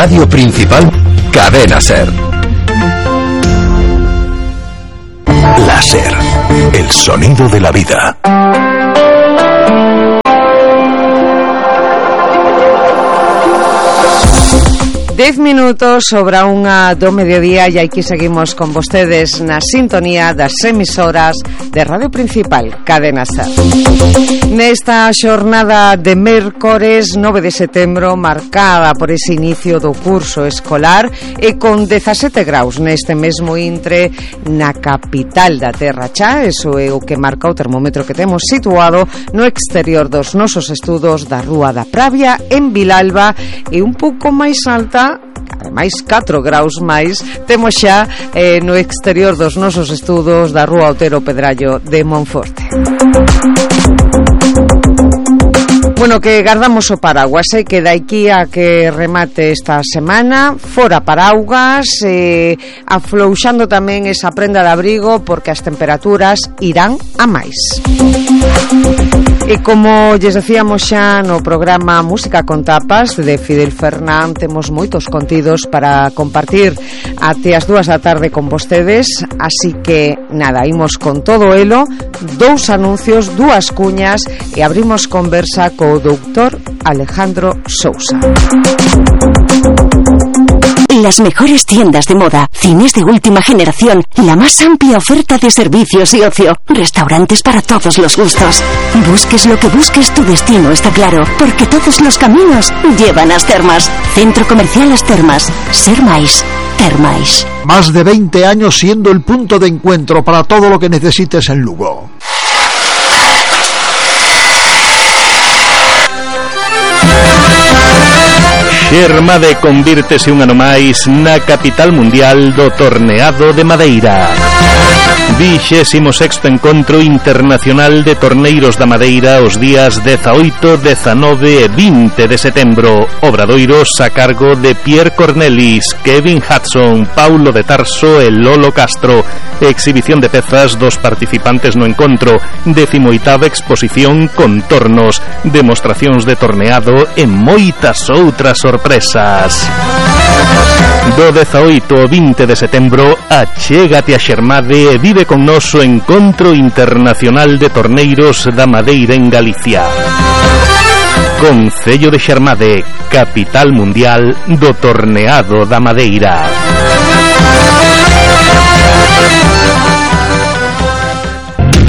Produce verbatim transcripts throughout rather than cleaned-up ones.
Radio Principal, Cadena Ser. Láser, el sonido de la vida. Dez minutos sobre a unha do mediodía e aquí seguimos con vostedes na sintonía das emisoras de Radio Principal, Cadena Ser. Nesta xornada de mércores nove de setembro, marcada por ese inicio do curso escolar e con dezasete graus neste mesmo intre na capital da Terra Cha, eso é o que marca o termómetro que temos situado no exterior dos nosos estudos da Rúa da Pravia en Vilalba, e un pouco máis alta, ademais catro graus máis temos xa eh, no exterior dos nosos estudos da Rúa Otero Pedrallo de Monforte. Bueno, que guardamos o paraguas, eh, que daqui a que remate esta semana fora paraugas, eh, aflouxando tamén esa prenda de abrigo porque as temperaturas irán a máis. E como lles decíamos xa no programa Música con Tapas de Fidel Fernán, temos moitos contidos para compartir até as dúas da tarde con vostedes, así que nada, imos con todo elo, dous anuncios, dúas cuñas e abrimos conversa co doutor Alejandro Sousa. Las mejores tiendas de moda, cines de última generación, la más amplia oferta de servicios y ocio, restaurantes para todos los gustos. Busques lo que busques, tu destino está claro, porque todos los caminos llevan a As Termas. Centro Comercial As Termas. Ser máis, ter máis. Más de veinte años siendo el punto de encuentro para todo lo que necesites en Lugo. Xermade convírtese un ano máis na capital mundial do torneado de Madeira. Vixésimo sexto encontro internacional de torneiros da Madeira os días dezaoito, dezanove e vinte de setembro. Obradoiros a cargo de Pierre Cornelis, Kevin Hudson, Paulo de Tarso e Lolo Castro. Exhibición de pezas dos participantes no encontro. Decimoitava exposición con tornos, demostracións de torneado e moitas outras sorpresas. Do dezaoito ao vinte de setembro, achégate a Xermade e vive con noso encontro internacional de torneiros da Madeira en Galicia. Concello de Xermade, capital mundial do torneado da Madeira.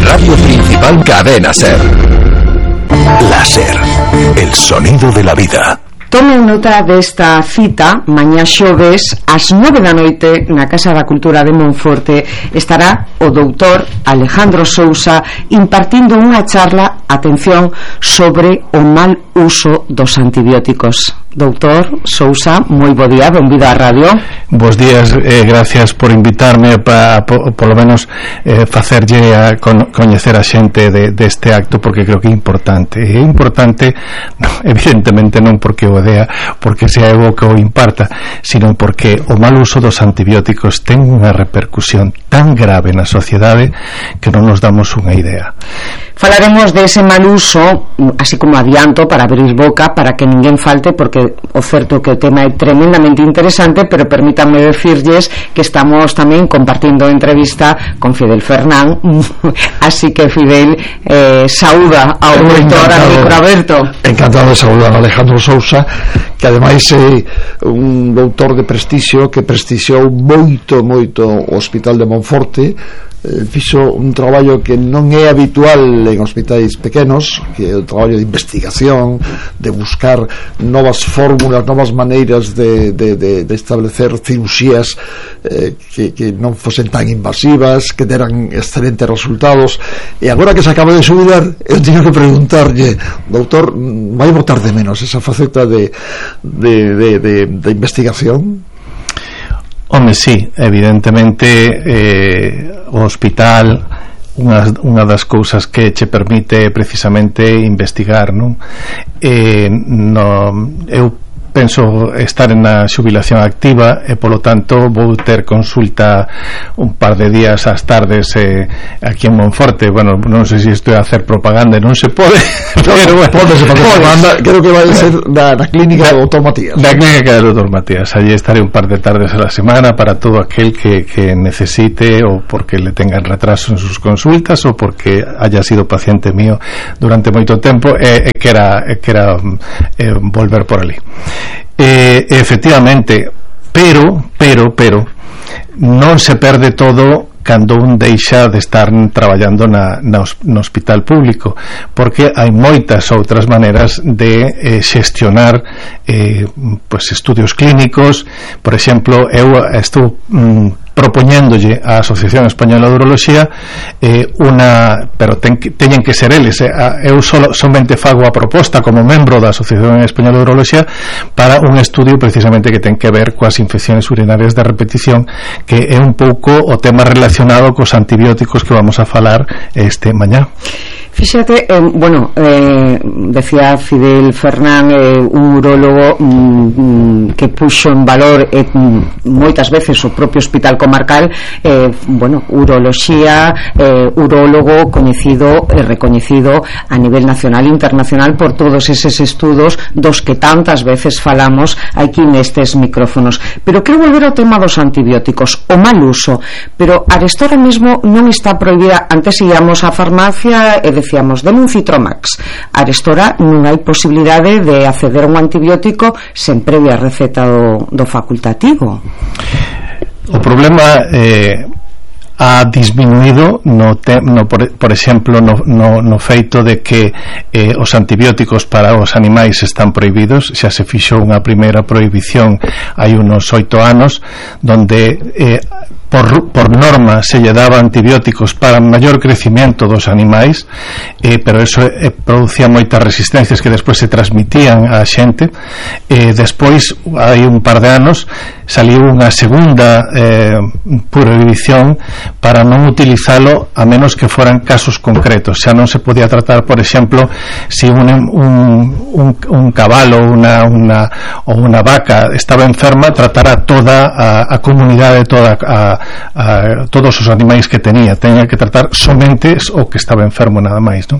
Radio Principal, Cadena Ser. Láser, el sonido de la vida. Tomen nota desta cita. Mañá xoves ás nove da noite na Casa da Cultura de Monforte estará o doutor Alejandro Sousa impartindo unha charla, atención, sobre o mal uso dos antibióticos. Doutor Sousa, moi bo día, benvido á radio. Bos días, eh, gracias por invitarme para, por, por lo menos eh, facerlle a con, coñecer a xente de, deste acto, porque creo que é importante. É importante, no, evidentemente non porque o dea, porque sea eu que o imparta, sino porque o mal uso dos antibióticos ten unha repercusión tan grave na sociedade que non nos damos unha idea. Falaremos de ese mal uso, así como adianto, para abrir boca, para que ninguén falte, porque o certo que o tema é tremendamente interesante, pero permítanme decirlles que estamos tamén compartindo entrevista con Fidel Fernán, así que Fidel, eh, saúda ao doutor a micro aberto. Encantado de saudar a Alejandro Sousa, que ademais é un doutor de prestixio que prestixiou moito, moito o Hospital de Monforte. Eh, fixo un traballo que non é habitual en hospitais pequenos, que é o traballo de investigación, de buscar novas fórmulas, novas maneiras de, de, de, de establecer cirurxías eh, que, que non fosen tan invasivas, que deran excelentes resultados. E agora que se acaba de xubilar, eu teño que preguntarlle, doutor, vai botar de menos esa faceta de, de, de, de, de investigación? Home, sí, evidentemente eh, o hospital unha, unha das cousas que che permite precisamente investigar, non? Eh, no, eu penso estar na xubilación activa e polo tanto vou ter consulta un par de días ás tardes eh, aquí en Monforte. Bueno, non sei se estou a hacer propaganda, non se pode, pero bueno, pódese facer propaganda, creo que vai ser na, na clínica do doutor Matías. Na clínica do doutor Matías, allí estaré un par de tardes a la semana para todo aquel que, que necesite, o porque le tengan retraso en sus consultas ou porque haya sido paciente mío durante moito tempo e, e que era, e que era eh, volver por ali. Eh, efectivamente, pero, pero, pero non se perde todo cando un deixa de estar traballando na, na, no hospital público, porque hai moitas outras maneiras de eh, xestionar eh, pues, estudios clínicos. Por exemplo, eu estou mm, propoñéndolle á Asociación Española de Uroloxía eh, unha, pero ten, teñen que ser eles, eh, eu solo, somente fago a proposta como membro da Asociación Española de Uroloxía para un estudio precisamente que ten que ver coas infecciones urinarias de repetición, que é un pouco o tema relacionado cos antibióticos que vamos a falar este mañá. Fíxate, eh, bueno, eh, decía Fidel Fernán, eh, un urólogo mm, que puxo en valor eh, moitas veces o propio hospital comarcal, eh, bueno, uroloxía, eh, urólogo coñecido e eh, recoñecido a nivel nacional e internacional por todos eses estudos dos que tantas veces falamos aquí nestes micrófonos. Pero quero volver ao tema dos antibióticos, o mal uso, pero arestora mesmo non está prohibida. Antes íamos á farmacia e decíamos, den un Citromax. Arestora non hai posibilidade de acceder a un antibiótico sen previa receta do, do facultativo. O problema eh, ha disminuído no, te, no por, por exemplo no, no, no feito de que eh, os antibióticos para os animais están prohibidos. Xa se fixou unha primeira prohibición hai unos oito anos, donde eh, por, por norma se lle daba antibióticos para maior crecimiento dos animais, eh, pero eso eh, producía moitas resistencias que despois se transmitían á xente. Eh, despois, hai un par de anos, saliu unha segunda eh, prohibición para non utilizalo a menos que foran casos concretos. Xa non se podía tratar, por exemplo, si un, un, un, un cabalo una, una, ou unha vaca estaba enferma, tratar a toda a, a comunidade, toda a, a, todos os animais que tenía. Tenía que tratar somente o que estaba enfermo, nada máis, non?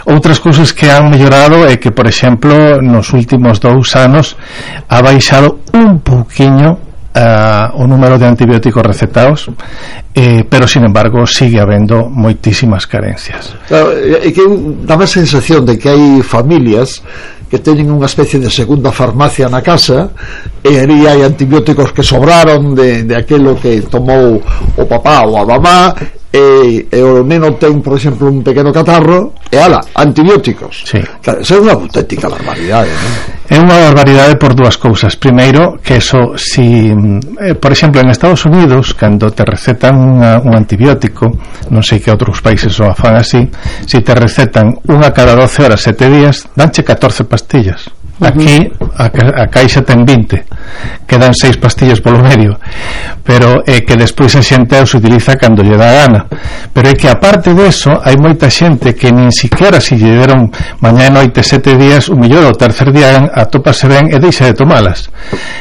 Outras cousas que han mellorado é que, por exemplo, nos últimos dous anos ha baixado un pouquiño Uh, o número de antibióticos recetados, eh, pero sin embargo sigue habendo moitísimas carencias. Claro, é que dá a sensación de que hai familias que teñen unha especie de segunda farmacia na casa, e aí hai antibióticos que sobraron de, de aquelo que tomou o papá ou a mamá, e, e o neno ten, por exemplo, un pequeno catarro, e ala, antibióticos. Sí. Claro, isso é unha auténtica barbaridade, non? É unha barbaridade por dúas cousas. Primeiro, que eso, si eh, por exemplo, en Estados Unidos, cando te recetan unha, un antibiótico, non sei que outros países o fan así, si te recetan unha cada doce horas, sete días, danche catorce pastillas. Aquí a, a caixa ten vinte, quedan seis pastillas polo medio, pero é que despois a xente os utiliza cando lle dá gana. Pero é que aparte deso hai moita xente que nin siquiera se lle deron mañá e noite sete días, o mellor o tercer día atópase ben e deixa de tomalas.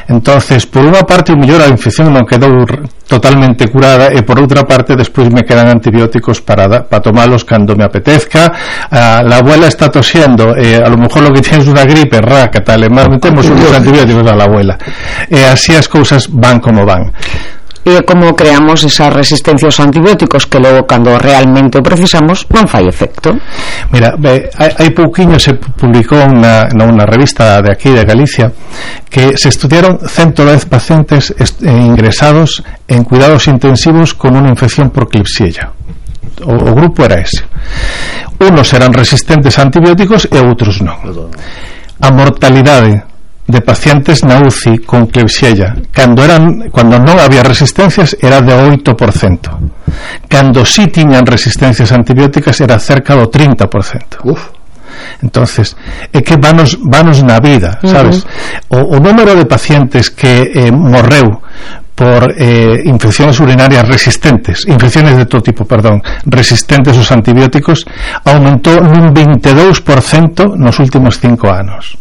Entonces, por unha parte, o mellor a infección non quedou totalmente curada, e por outra parte despois me quedan antibióticos para, para tomalos cando me apetezca. Ah, la abuela está tosiendo, eh, a lo mejor lo que tienes una gripe, raca, tal, e máis metemos uns antibióticos a la abuela, e así as cousas van como van. E como creamos esas resistencias aos antibióticos que logo, cando realmente o precisamos, non fai efecto. Mira, eh, hai pouquiño se publicou na, na revista de aquí de Galicia que se estudiaron ciento dez pacientes est- ingresados en cuidados intensivos con unha infección por Klebsiella. O, o grupo era ese. Unos eran resistentes a antibióticos e outros non. A mortalidade de pacientes na U C I con Klebsiella cando eran cando non había resistencias era de oito por cento. Cando sí tiñan resistencias antibióticas era cerca do trinta por cento. Uf. Entonces, é que vanos, vanos na vida, sabes? Uh-huh. O, o número de pacientes que eh, morreu por eh, infecciones urinarias resistentes, infecciones de todo tipo, perdón, resistentes aos antibióticos, aumentou nun veintidós por cento nos últimos cinco anos.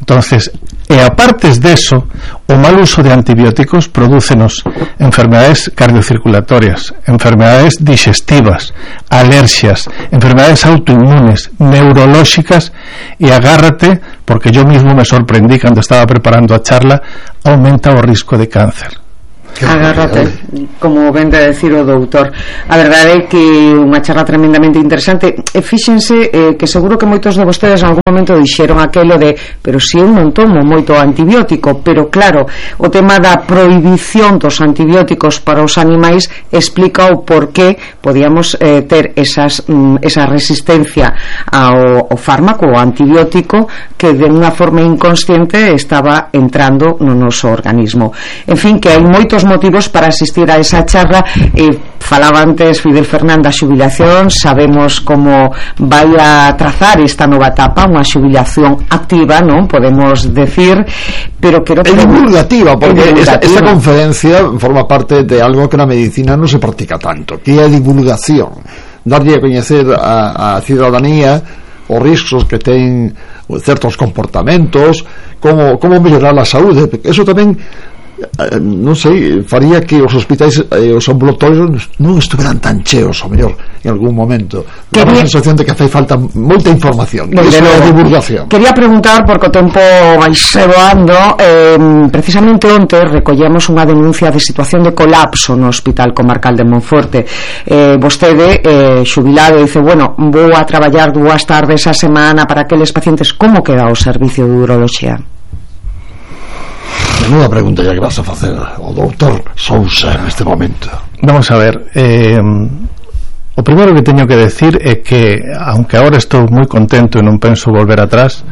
Entonces, E apartes deso, o mal uso de antibióticos prodúcenos enfermedades cardiocirculatorias, enfermedades digestivas, alergias, enfermedades autoinmunes, neurolóxicas, e agárrate, porque yo mismo me sorprendí cando estaba preparando a charla, aumenta o risco de cáncer. Agárrate, como vende a decir o doutor. A verdade é que unha charla tremendamente interesante. E fíxense eh, que seguro que moitos de vostedes en algún momento dixeron aquelo de pero si eu non tomo moito antibiótico, pero claro, o tema da prohibición dos antibióticos para os animais explica o por que podíamos eh, ter esas, mm, esa resistencia ao, ao fármaco, ao antibiótico, que de unha forma inconsciente estaba entrando no noso organismo. En fin, que hai moitos motivos para asistir a esa charla. eh, falaba antes Fidel Fernández a xubilación, sabemos como vai a trazar esta nova etapa, unha xubilación activa, non podemos decir, pero quero é divulgativa, porque esta, esta conferencia forma parte de algo que na medicina non se practica tanto, que é a divulgación, darlle a coñecer a, a cidadanía os riscos que ten certos comportamentos, como, como mellorar a saúde, porque eso tamén non sei, faría que os hospitais e eh, os ambulatorios non estuveran tan cheos, ao mellor, en algún momento. Dá a sensación de que fai falta moita información. Iso é a divulgación. Quería preguntar, porque o tempo vai se voando, eh, precisamente onte recollemos unha denuncia de situación de colapso no Hospital Comarcal de Monforte. Eh, vostede, eh, xubilado, dice, bueno, vou a traballar dúas tardes a semana para aqueles pacientes. Como queda o servicio de uroloxía? Menuda pregunta ya que vas a facer ao doutor Sousa neste momento. Vamos a ver, eh, o primeiro que teño que decir é que, aunque agora estou moi contento e non penso volver atrás,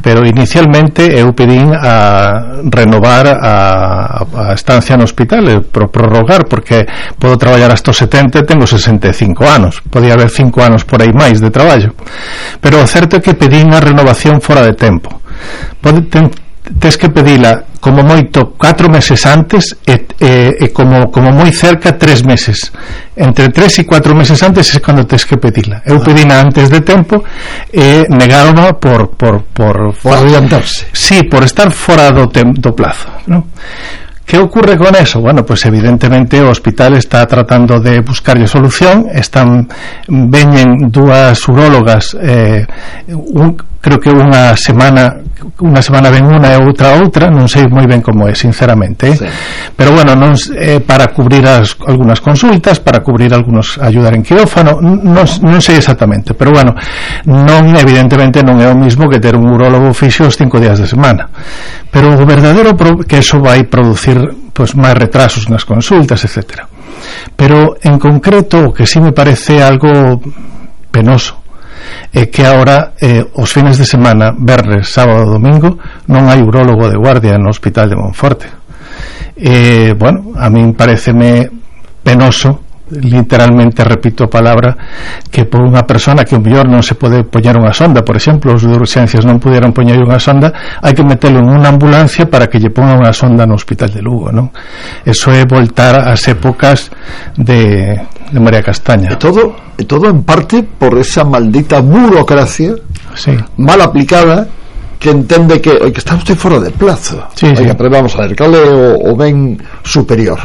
pero inicialmente eu pedín a renovar a, a estancia no hospital, e pro prorrogar, porque podo traballar hasta os setenta e tengo sesenta e cinco anos, podía haber cinco anos por aí máis de traballo, pero o certo é que pedín a renovación fora de tempo. Pode, ten, tes que pedila como moito catro meses antes e, e, e como, como moi cerca tres meses, entre tres e cuatro meses antes é cando tes que pedila. Eu pedina antes de tempo e negaron por por, por, por adiantarse, sí, por estar fora do, tem, do plazo, ¿no? ¿Qué ocurre con eso? Bueno, pues evidentemente o hospital está tratando de buscarlle solución. Están, veñen dúas urólogas, eh, un, creo que unha semana unha semana ven unha e outra outra, non sei moi ben como é, sinceramente, eh? Sí. Pero bueno, non, eh, para cubrir as, algunas consultas, para cubrir algunos, ayudar en quirófano, non, non sei exactamente, pero bueno, non, evidentemente non é o mismo que ter un urólogo fixo os cinco días de semana, pero o verdadeiro pro, que eso vai producir pues máis retrasos nas consultas, etcétera. Pero en concreto o que sí me parece algo penoso é que agora eh, os fines de semana, verres, sábado, domingo, non hai urólogo de guardia no Hospital de Monforte. Eh, bueno, a min pareceme penoso, literalmente, repito a palabra, que por unha persona que o mellor non se pode poñer unha sonda, por exemplo, os de urxencias non puderon poñer unha sonda, hai que metelo en unha ambulancia para que lle ponga unha sonda no Hospital de Lugo, non? Eso é voltar ás épocas de, de María Castaña. E todo, e todo en parte por esa maldita burocracia, sí, mal aplicada, que entende que, que está usted fora de plazo. Sí, sí. Oiga, pero vamos a ver, cal é o, o ben superior?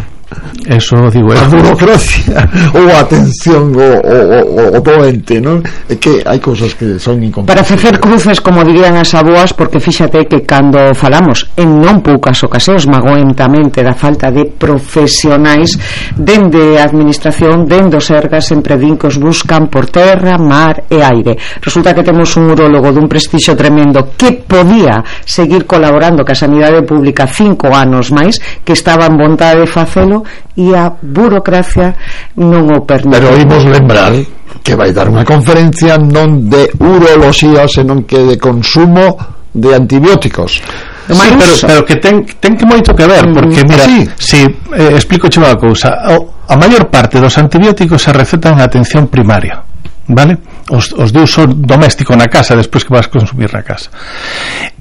Eso digo eu. A burocracia ou a atención o, o, o, o doente, non? É que hai cousas que son incompatibles. Para facer cruces, como dirían as aboas, porque fíxate que cando falamos en non poucas ocasións magoentamente da falta de profesionais dende a administración, dende os Sergas, sempre din que os buscan por terra, mar e aire. Resulta que temos un urólogo dun prestixio tremendo que podía seguir colaborando ca sanidade pública cinco anos máis, que estaba en vontade de facelo, e a burocracia non o permite. Pero imos lembrar que vai dar unha conferencia non de uroloxía, senón que de consumo de antibióticos. Sí, pero, pero que ten, ten que moito que ver, porque mira, ¿sí? Si eh, explico unha cousa, a maior parte dos antibióticos se recetan en atención primaria, vale? Os, os de uso doméstico na casa, despois que vas a consumir na casa.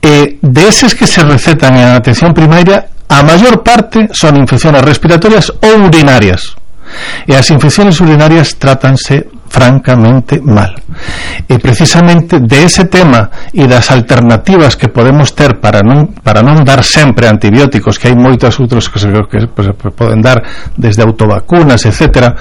Eh, de eses que se recetan en atención primaria, a maior parte son infecciones respiratorias ou urinarias, e as infecciones urinarias trátanse francamente mal. E precisamente de ese tema e das alternativas que podemos ter para non, para non dar sempre antibióticos, que hai moitos outros que se, que se poden dar desde autovacunas, etcétera,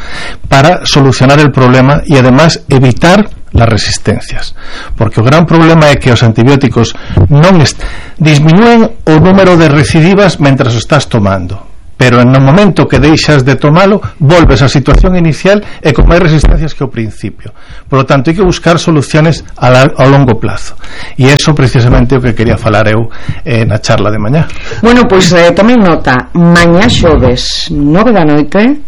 para solucionar el problema e además evitar las resistencias, porque o gran problema é que os antibióticos non est- disminúen o número de recidivas mentras o estás tomando, pero en o momento que deixas de tomalo volves á situación inicial e con máis resistencias que ao principio. Por lo tanto, hai que buscar soluciones a, la, a longo plazo, e eso precisamente o que quería falar eu eh, na charla de mañá. Bueno, pois pues, eh, tomen nota, mañá xoves nove da noite.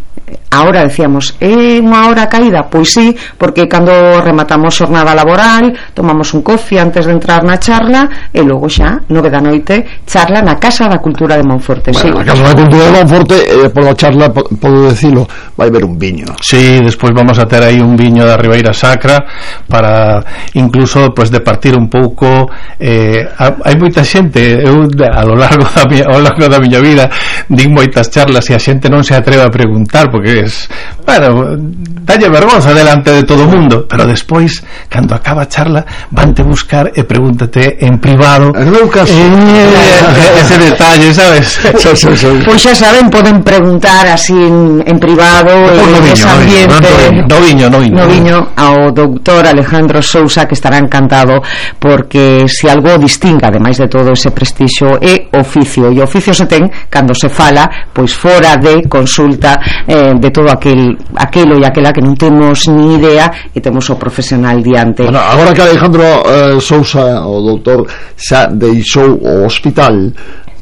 Ahora decíamos, é unha hora caída? Pois sí, porque cando rematamos xornada laboral tomamos un coffee antes de entrar na charla e logo xa, nove da noite, charla na Casa da Cultura de Monforte. Bueno, sí. na Casa da Cultura de Monforte, eh, por la charla, podo decirlo, vai haber un viño. Sí, despois vamos a ter aí un viño da Ribeira Sacra para incluso pues, de partir un pouco eh, hai moita xente, eu a lo largo da miña, ao largo da miña vida din moitas charlas e a xente non se atreve a preguntar porque es, bueno, dalle vergonza delante de todo o mundo, pero despois cando acaba a charla vante buscar e pregúntate en privado en meu caso eh, ese detalle, sabes? Pois pues xa saben, poden preguntar así en, en privado en ese ambiente no viño, no viño, no viño ao doutor Alejandro Sousa, que estará encantado, porque se algo distinga ademais de todo ese prestixio é oficio, e oficio se ten cando se fala pois fora de consulta eh, de todo aquel aquelo e aquela que non temos ni idea e temos o profesional diante. Bueno, agora que Alejandro eh, Sousa, o doutor, xa deixou o hospital,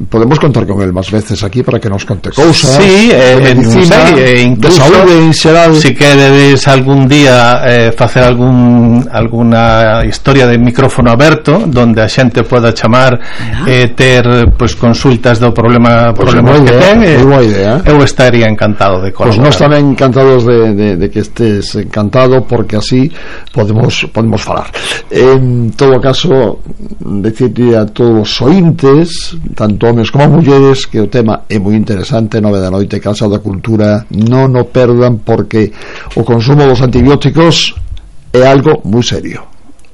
podemos contar con él máis veces aquí para que nos conte cousas sí, eh, de medicina, sei, eh, incluso, de saúde en xeral. Si queredes algún día eh, facer algún alguna historia de micrófono aberto donde a xente poda chamar e eh, ter pues, consultas do problema pues problemas que ten, eh, idea. Eu estaría encantado de colaborar. Pues nós tamén encantados de, de, de que estés encantado, porque así podemos podemos falar. En todo caso, decirle a todos os ointes, tanto homes como mulleres, que o tema é moi interesante. Nove da noite, Casa da Cultura, non o perdan, porque o consumo dos antibióticos é algo moi serio,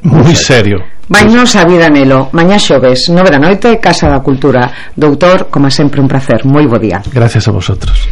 moi serio. Vainos a vida nelo, mañá xoves, nove da noite, Casa da Cultura. Doutor, como sempre, un placer, moi bo día. Gracias a vosotros.